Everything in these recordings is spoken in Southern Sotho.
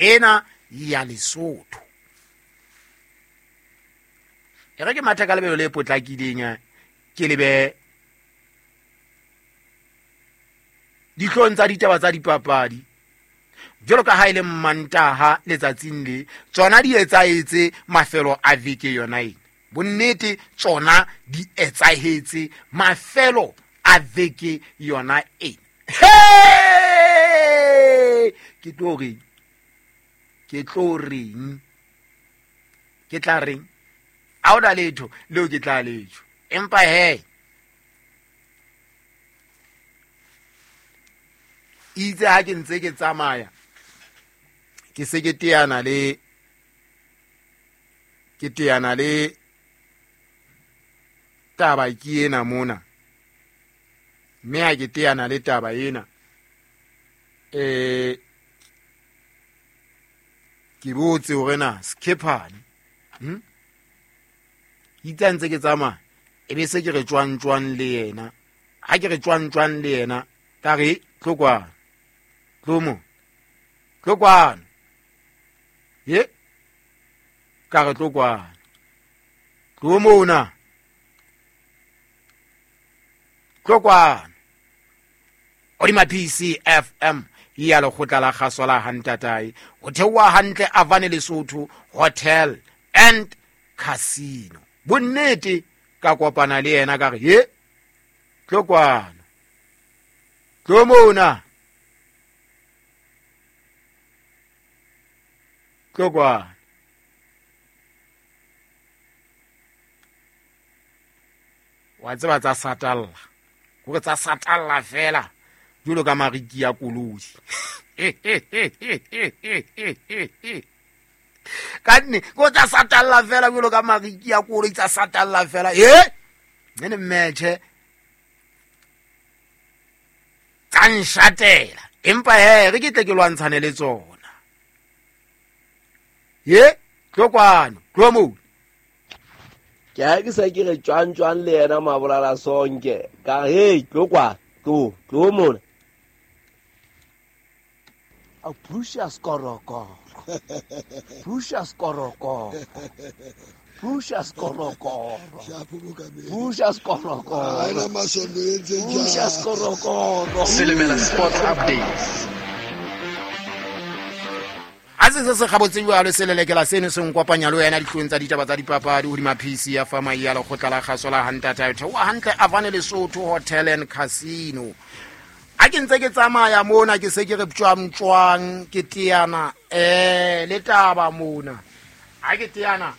Ena ya Lesotho. E re ke mathe ka lebelo le potlakileng eh, ke lebe dihlong tsa ditaba tsa dipapadi jalo ka ha e le mmantaha letsatsing le tsona di etsaetse mafelo a veke yona ena bonnete tsona di etsahetse mafelo a veke yona ena ke tlo reng ke tlo reng ke tla reng a o na letho leo ke tla letho empa he itse ha ke ntse ke tsamaya ke se ke teana le ke teana le taba ke ena mona mme ha ke teana le taba ena um ke botse hore na sekhephane hmm? itse a ntse ke tsamaya e be se ke re tswang tswang le yena ha ke re tswang tswang le yena ka re tlo kwano tlo mo tlo kwano ye ka re tlo kwano tlo mona tlo kwano odima pcfm ya lekgotla la kgaso la hantatae go theoa hantle avane lesotho hotel and casino bonnete ka kopana le yena ka re ye tlo kwano tlo mona tlo kwano wa tseba tsa satalla kore tsa satalla fela jalo ka mariki ya koloi ka nne ko tsa satalla fela jalo ka mariki ya koloi tsa satalla fela e ene mmetšhe tsa nshatela empa he re ke tle ke lwantshane le tsona ye tlo kwano tlo moo ke ga ke sa ke re tswang tswang le yena mabolala sonke ka re hei tlo kwa tlo tlo mona a Precious Korokoro Precious Korokoro Precious Korokoro Precious Korokoro Precious Korokoro Selemela Sports Updates. a se se se gabotse jalo se lelekela seno se nkopanya le wena ditlong tsa ditaba tsa dipapadi godima pc ya fama ya lekgotla la kgaso la hantata theoa hantle avane lesotho hotel and casino a ke ntse ke tsamaya mona ke se ke re tswang ke teana um le taba mona a ke teana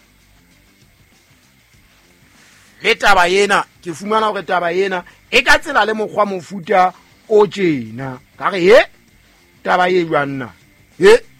le taba ena ke fumana gore taba ena e ka tsela le mokgwa mofuta o tjena ka re ye taba e jwang na ye